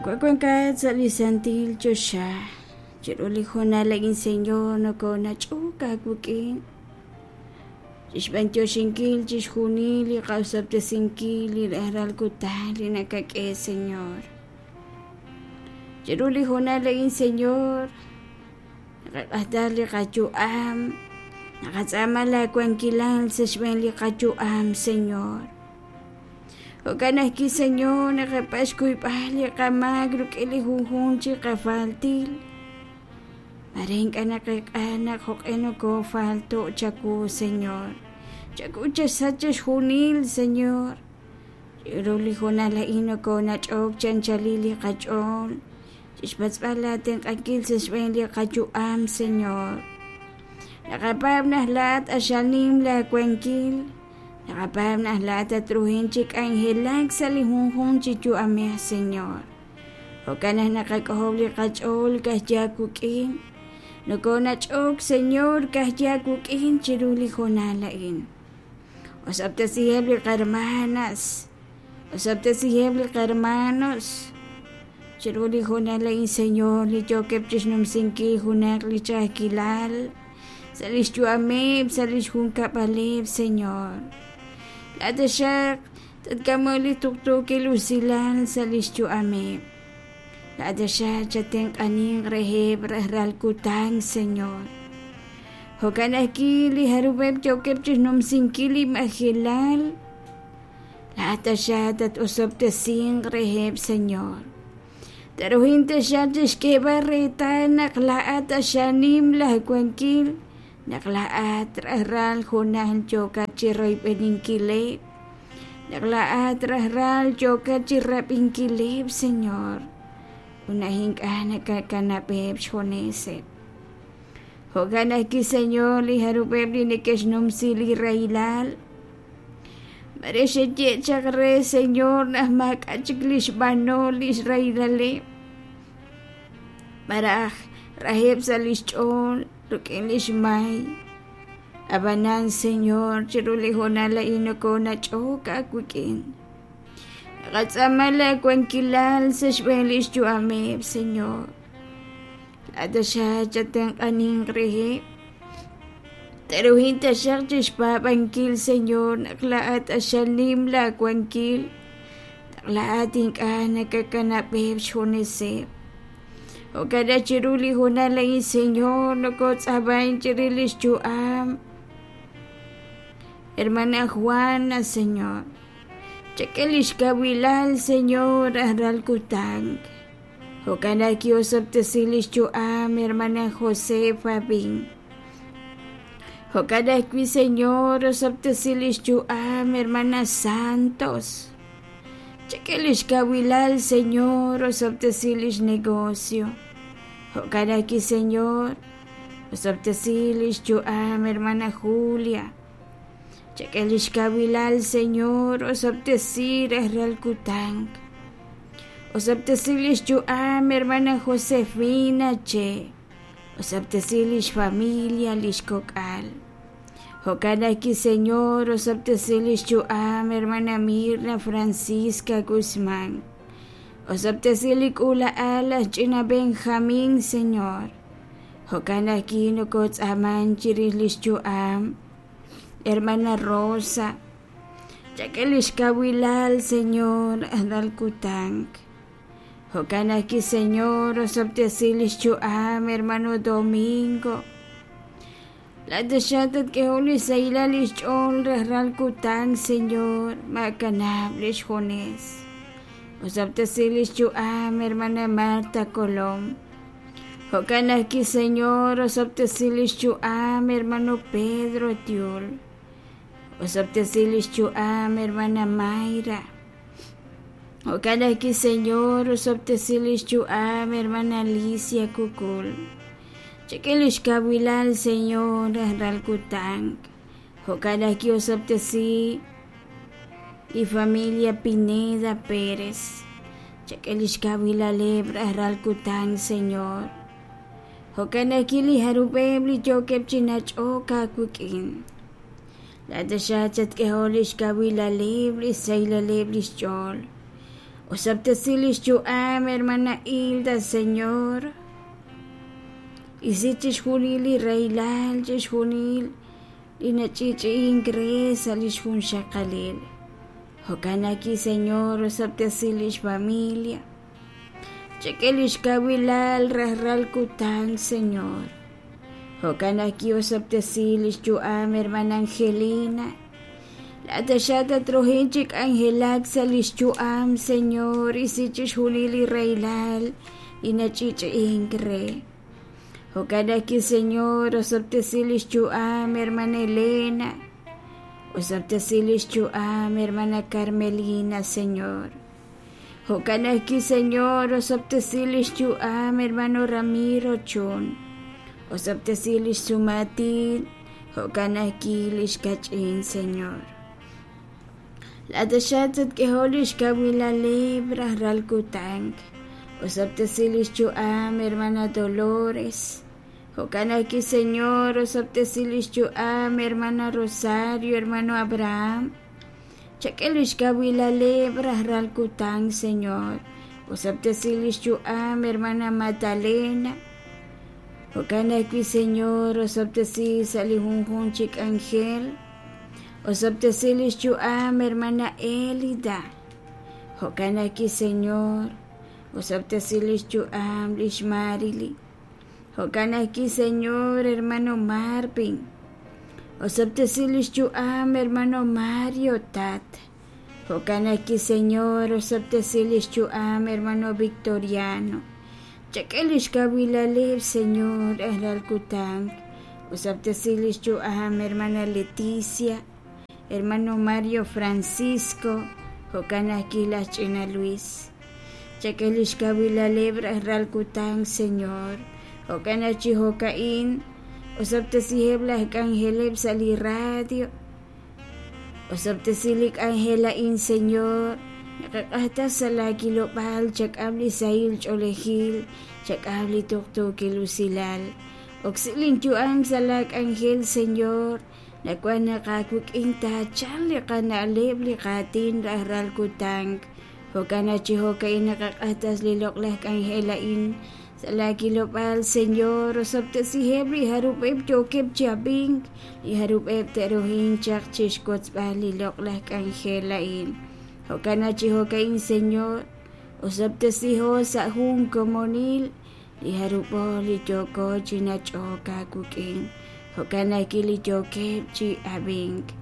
Yuwa' wankat sa' li santil choxa, chiru li hoonal a'in Señor nokonach'ok aawik'in chixb'antioxinkil chixjunil li qa'osob'tesinkil li rajlal kutan li nakak'e Señor. Chiru li hoonal a'in Señor, naqaq'ajta li qayu'am, naqatz'aama laa wankilal sa' xb'een li qayu'am Señor. Jo'kan ajwi' Señor, naqapatz' xkuyb'al li qamaak rik'in li junjunq chi qafaltil. Mare ink'a' naqeek'a naq jo'q'e nokofalto' chawu, Señor. Chawu chasach chixjunil, Señor. Chiru li hoonal a'in nokonach'ok chi anchalil li qach'ool chixpatz'b'al laa tenq'ankil sa' xb'een li qayu'am, Señor. Naqapaab' naq laa'at q'axal nim laa wankil. Naqapaab' naq laa'at tatruhin chi k'anjelak sa' li junjunq chi yu'amej, Señor. Jo'kan naq naqak'ojob' li qach'ool ka'ajwi' aawik'in. Nokonach'ok, Señor, ka'ajwi' aawik'in chiru li hoonal a'in. Osob'tesiheb' li qahermanas, osob'tesiheb' li qahermanos chiru li hoonal a'in, Señor, li yookeb' chixnumsinkil junaq li ch'a'ajkilal sa' lix yu'ameb', sa' lix junkab'aleb', Señor. Laa'at taxaq tatk'amoq li tuqtuukil usilal sa' lix yu'ameb'. Laa'at taxaq chatenq'aninq reheb' rajlal kutan, Señor. Jo'kan ajwi' li jarub'eb' yookeb' chixnumsinkil li majelal, laa'at taxaq tat-osob'tesinq reheb', Señor. Taruhin taxaq chixk'eeb'al reetal naq laa'at q'axal nim laa wankil, naq laa'at rajlal hoonal yookat chiroyb'eninkileb', naq laa'at rajlal yookat chirab'inkileb', Señor, ut naq ink'a' nakakanab'eb' xjuneseb'. Jo'kan ajwi', Señor, li jarub'eb' li neke'xnumsi li rahilal, Mare xeye chaq re, Señor, naq maak'a' chik li xb'anol li xrahilaleb', malaj raheb' sa' li xch'ool rik'in li xmay. Ab'anan, Señor, chiru li hoonal a'in nokonach'ok aawik'in. Naqatz'aama laawankilal sa' xb'een li xyu'ameb', Señor. Laa'at taxaq chatenq'aninq reheb'. Te'ruhin taxaq chixpaab'ankil, Señor, naq laa'at q'axal nim laawankil, naq laa'at ink'a' nakakanab'eb' xjuneseb'. Jo'kan naq chiru li hoonal a'in, Señor, nokotz'ab'an chirix lix yu'am Hermana Juana, Señor. Chak'e lix kawilal, Señor, rajlal kutan. Jo'kan naq ki'osob'tesi lix yu'am Hermana Josefa Bin. Jo'kan ajwi', Señor, osob'tesi lix yu'am Hermana Santos. Chak'e lix kawilal, Señor, osob'tesi lix negocio. Jo'kan ajwi', Señor, osob'tesi lix yu'am Hermana Julia. Chak'e lix kawilal, Señor, osob'tesi rajlal kutan. Osob'tesi lix yu'am Hermana Josefina Che. Osob'tesi lix familia, lix kok'al. Jo'kan ajwi', Señor, osob'tesi lix yu'am Hermana Mirna Francisca Guzmán. Osob'tesi li k'uula'al aj ch'ina Benjamín, Señor. Jo'kan ajwi' nokotz'aaman chirix lix yu'am Hermana Rosa. Chak'e lix kawilal, Señor, rajlal kutan. Jo'kan ajwi', Señor, osob'tesi lix yu'am Hermano Domingo. Laa'at taxaq tatk'ehoq lix sahilal lix ch'ool rajlal kutan, Señor, maakanab' lix junes. Osob'tesi lix yu'am Hermana Marta Colom. Jo'kan ajwi', Señor, osob'tesi lix yu'am Hermano Pedro Tiul. Osob'tesi lix yu'am Hermana Mayra. Jo'kan ajwi', Señor, osob'tesi lix yu'am Hermana Alicia Kukul. Chak'e lix kawilal, Señor, rajlal kutan. Jo'kan ajwi' osob'tesi li familia Pineda Pérez. Chak'e lix kawilaleb' rajlal kutan, Señor. Jo'kan ajwi' li jarub'eb' li yookeb' chi nach'ok aawik'in. Laa'at taxaq chatk'ehoq lix kawilaleb', lix sahilaleb' lix ch'ool. Osob'tesi lix yu'am hermana Hilda, Señor. Isi chixjunil li rahilal, chixjunil li nach'i'ch'i'ink re sa' lix junxaqalil. Jo'kan ajwi', Señor, osob'tesi lix familia. Chak'e lix kawilal rajlal kutan, Señor. Jo'kan ajwi' osob'tesi lix yu'am hermana Angelina. Laa'at taxaq tatruhin chi k'anjelak sa' lix yu'am, Señor, isi chixjunil li rahilal li nach'i'ch'i'ink re. Jo'kan ajwi', Señor, osob'tesi lix yu'am hermana Elena. Osob'tesi lix yu'am hermana Carmelina, Señor. Jo'kan ajwi', Señor, osob'tesi lix yu'am hermano Ramiro Chun. Osob'tesi lix sumaatin, jo'kan ajwi' lix kach'in, Señor. Laa'at taxaq tatk'ehoq lix kawilaleb' rajlal kutan. Osob'tesi lix yu'am hermana Dolores. Jo'kan ajwi', Señor, osob'tesi lix yu'am hermana Rosario, hermano Abraham. Chak'e lix kawilaleb' rajlal kutan, Señor. Osob'tesi lix yu'am hermana Magdalena. Jo'kan ajwi', Señor, osob'tesi sa' li junjunq chi k'anjel. Osob'tesi lix yu'am hermana Elida. Jo'kan ajwi', Señor, osob'tesi lix yu'am lix Marily. Jo'kan ajwi', Señor, hermano Marvin. Osob'tesi lix yu'am hermano Mario, Tat. Jo'kan ajwi', Señor, osob'tesi lix yu'am hermano Victoriano. Chak'e lix kawilaleb', Señor, rajlal kutan. Osob'tesi lix yu'am hermana Leticia, hermano Mario Francisco, jo'kan ajwi' laj ch'ina Luis. Chak'e lix kawilaleb' rajlal kutan, Señor. Jo'kan naq chi jo'ka'in, osob'tesiheb' laj k'anjeleb' sa' li radio. Osob'tesi li k'anjel a'in, Señor. Naqaq'ajtas sa' laa kilob'aal, chak'am li sahil ch'oolejil, chak'am li tuqtuukil usilal. Oksi lin yu'am sa' laa k'anjel, Señor. Nawaj naq aawik'in taachalq li qana'leb', li qaatin rajlal kutan. Jo'kan naq chi jo'ka'in naqaq'ajtas li loq'laj k'anjel a'in sa' laa kilob'aal, Señor. Osob'tesiheb' li jarub'eb' yookeb' chi ab'ink, li jarub'eb' te'rohin chaq chixwotzb'al li loq'laj k'anjel a'in. Jo'kan naq chi jo'ka'in, Señor, osob'tesiho sa' jun komonil li jarub'o li yooko chi nach'ok aawik'in, jo'kan ajwi' li yookeb' chi ab'ink.